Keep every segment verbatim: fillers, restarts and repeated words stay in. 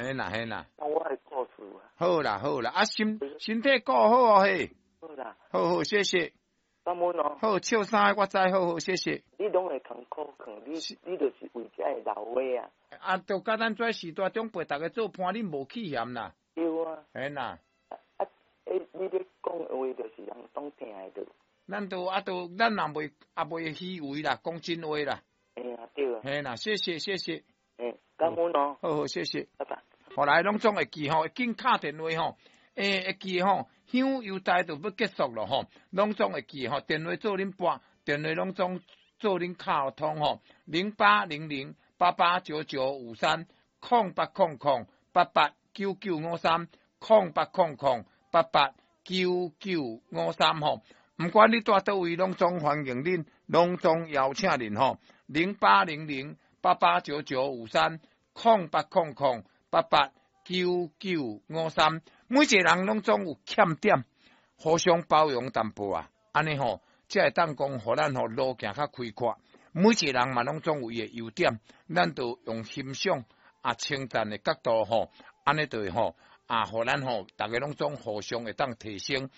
嘿啦嘿啦。講我的故事啊。好啦好啦，啊身身體顧好哦嘿。好啦。好好，謝謝。感恩哦。好，笑啥我知，好好，謝謝。你攏會艱苦，你你就是為這个老話啊。啊，就佮咱這時代長輩逐家做伴，恁無棄嫌啦。對啊。嘿啦。啊，欸，你咧講的話就是人總聽會著。咱都啊都，咱人袂也袂虛偽啦，講真話啦。嘿啊，對啊。嘿啦，謝謝謝謝。欸，感恩哦。好好，謝謝。拜拜。後來攏總會記吼，會緊敲電話吼，欸，會記吼，香油台就欲結束咯吼，攏總會記吼，電話做恁撥，電話攏總做恁敲通吼，零八零零八八九九五三，空八空空八八九九五三，空八空空八八九九五三吼，毋管你蹛佗位，攏總歡迎恁，攏總邀請恁吼，零八零零八八九九五三，空八空空八八九九五三，每一個人攏總有欠點，互相包容淡薄啊，按呢吼，才會當講，予咱吼路行較開闊。每一個人嘛攏總有伊的優點，咱就用欣賞啊稱讚的角度吼，按呢就會吼啊，予咱吼逐家攏總互相會當提升。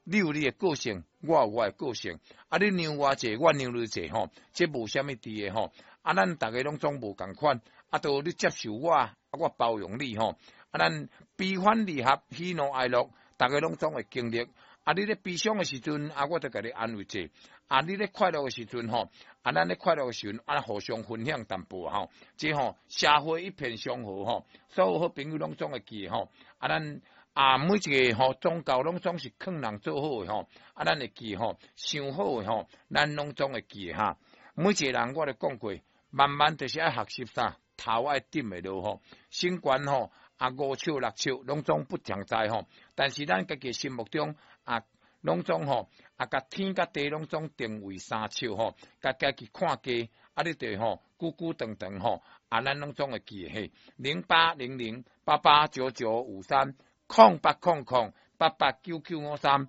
你有你的個性，我有我的個性，啊，你讓我者，我讓你者吼，這無啥物佇的吼，啊，咱逐家攏總無仝款，啊，都你接受我，啊，我包容你吼，啊，咱悲歡離合，喜怒哀樂，逐家攏總會經歷。啊，你咧悲傷的時陣，啊，我就共你安慰者；啊，你咧快樂的時陣，吼，啊，咱咧快樂的時陣，啊，互相分享淡薄吼，這吼社會一片祥和吼，所有好朋友攏總會記吼，啊，咱啊每一個吼宗教攏總是勸人做好的吼，啊，咱會記吼，想好的吼，咱攏總會記哈。每一個人我都講過，慢慢就是愛學習啥，頭愛點會落吼，身懸吼。啊，五尺六尺攏總不常在吼，但是咱家己心目中啊，攏總吼啊，共天佮地攏總定位三尺吼，共家己看低，啊，你就吼久久長長吼，啊，咱攏總會記嘿，零八零零八八九九五三，空八空空八八九九五三，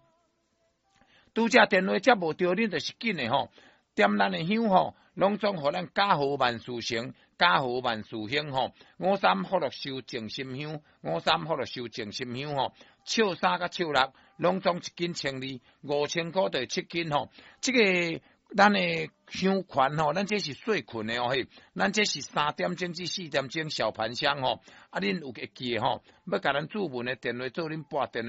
拄則電話接無著，恁就是緊的吼，點咱的香吼，攏總予咱家和萬事成。家和萬事興吼，五三福祿壽靜心香，五三福祿壽靜心香吼，笑三佮笑六，攏總一斤千二，五千箍就七斤吼。這個咱的香環吼，咱這是細捆的哦嘿，咱這是三點鐘至四點鐘小盤香吼。啊，恁有會記的吼，欲共咱注文的電話做恁撥電話。